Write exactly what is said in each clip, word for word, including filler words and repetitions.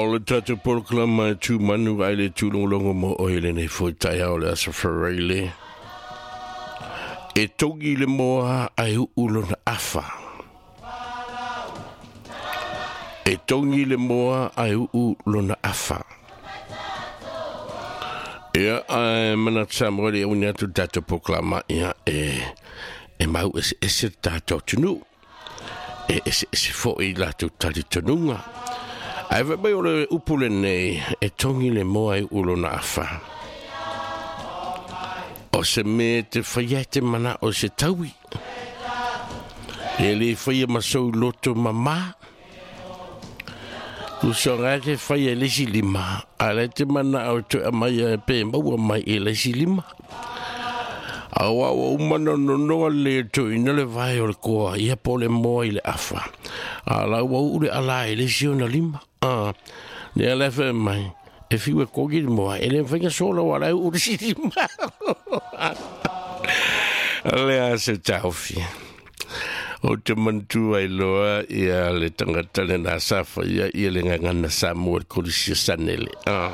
O le tatou polokalama e tu manu ai le tūlogologo mo oe lenei foi taeao le Aso Faraile. E togi le moa ai uu lona afa. E togi le moa ai uu lona afa. Ia, ai manatu sa mo le uni atu le tatou polokalama, ia, e, e mau ese ese le tatou atunuu. E ese ese foi latou talitonuga. Ae fai mai o le upu lenei, e togi le moa e uu lona afa. O se mea te whaia te mana o se taui. E le whaia masou loto mama. Kusonga te whaia lesi lima. A le te mana o te amai e pe maua mai e lesi lima. Awa ua umana nonoa le to ina le vai o le koa. Ia po le moa i le afa. A la ua uu le ala e lesi ona lima. Ah, ne ala whae mai. E fiu e kogi le moa. E le whainga sola wa lau uu le si lima. Le a se taufi. O te mantua i loa ia le tangata le nā safa ia ia le ngangana sa mua le kolisia sanele. Ah.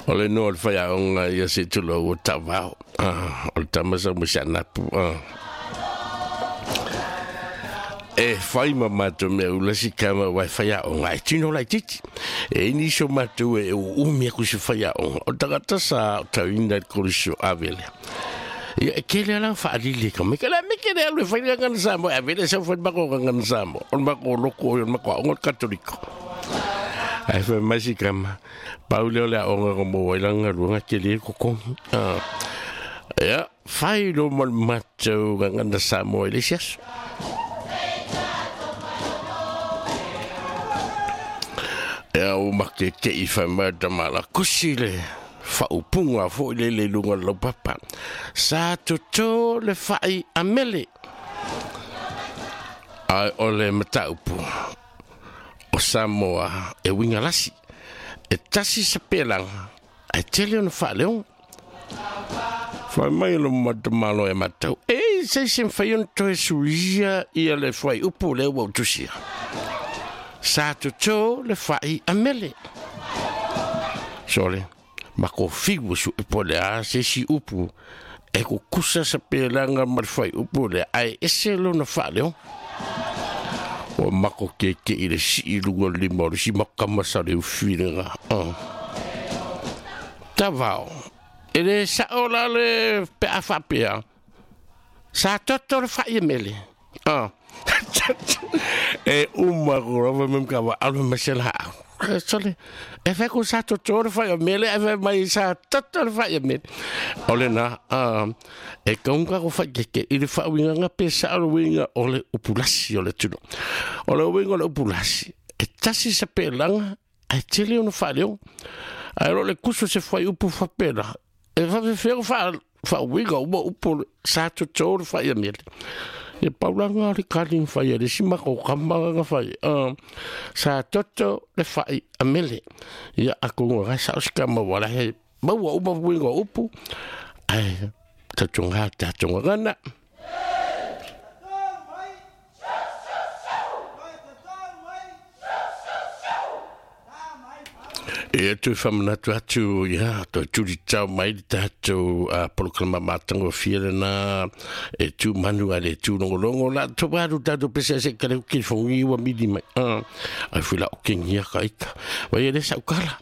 O le noa le whaiaonga ia se tulo ua tawao. Ah, o le tamasa mo si anapu. Ah. E whai ma mātou mea ulasi kama wai whaiaonga. E tino lai titi. E ini so mātou e umi aku se whaiaonga. O tangata sa o tauina le kolisio avele. Ia, e kele ala whaalili ka. Me kele me kele alu e whai ngana Samoa. Avele sa whai mako ngana Samoa. O mako loko o mako aonga katoliko. Ai whai mai si kama. Pau leo le aonga ko mō wailanga ruanga kele e kokongi. Ah. Ia, whai lo mal mātou ngana Samoa i le siaso. Ia o make ke i whai mai tamala kusi le whaupunga fo i le le lunga lau papa. Sa toto le whai amele. Ai o le mataupu o Samoa e winga lasi. E tasi sa pelanga. Ai tele ona whaaleonga. Whai mai lo matamalo e matau. E se se mwhai ona toe suia ia le whai upu le ua utusia. Sa toto le whai amele. Sole, mako fiu su e pole a se si upu. E ko kusa sa pelanga ma le whai upu le ai ese lona whaaleo. O mako ke ke i le si i lunga lima o le si makama sa le uwhiringa. Uh. Tawao. E le sao la le pe a whapea. Sa toto le whai amele. Uh. E uma ko mem ka wa alu masela. Sole, e whai ko sa toto le whai amele, e whai mai sa toto le whai amele. O le nā, e kaunga ko whai keke, i le wha winga pe sa alo winga o le upulasi o le tuno. O le winga o le upulasi. E tasi sa pelanga, e tele ona whaleo. Ai ro le kuso se whai upu whapela. E whawhewheo wha, wha winga uma upu sa toto le whai amele. E paulanga le kaling whai, le sima ko kamanga whai. Uh, sa toto le whai amele. Ia ako ngā sa oskama wala he maua uma winga upu. Ai, tatunga, tatunga ngana. E atu whamanatu atu, ia, toi turi tau mai le tātou a polokalama mātango fia lena, e tū manu a le tū longolongo la, tō waru tātou pese ase kare uki whongi ua mili mai. Uh, ai fui la okengia ka ika. Wai e le saukala.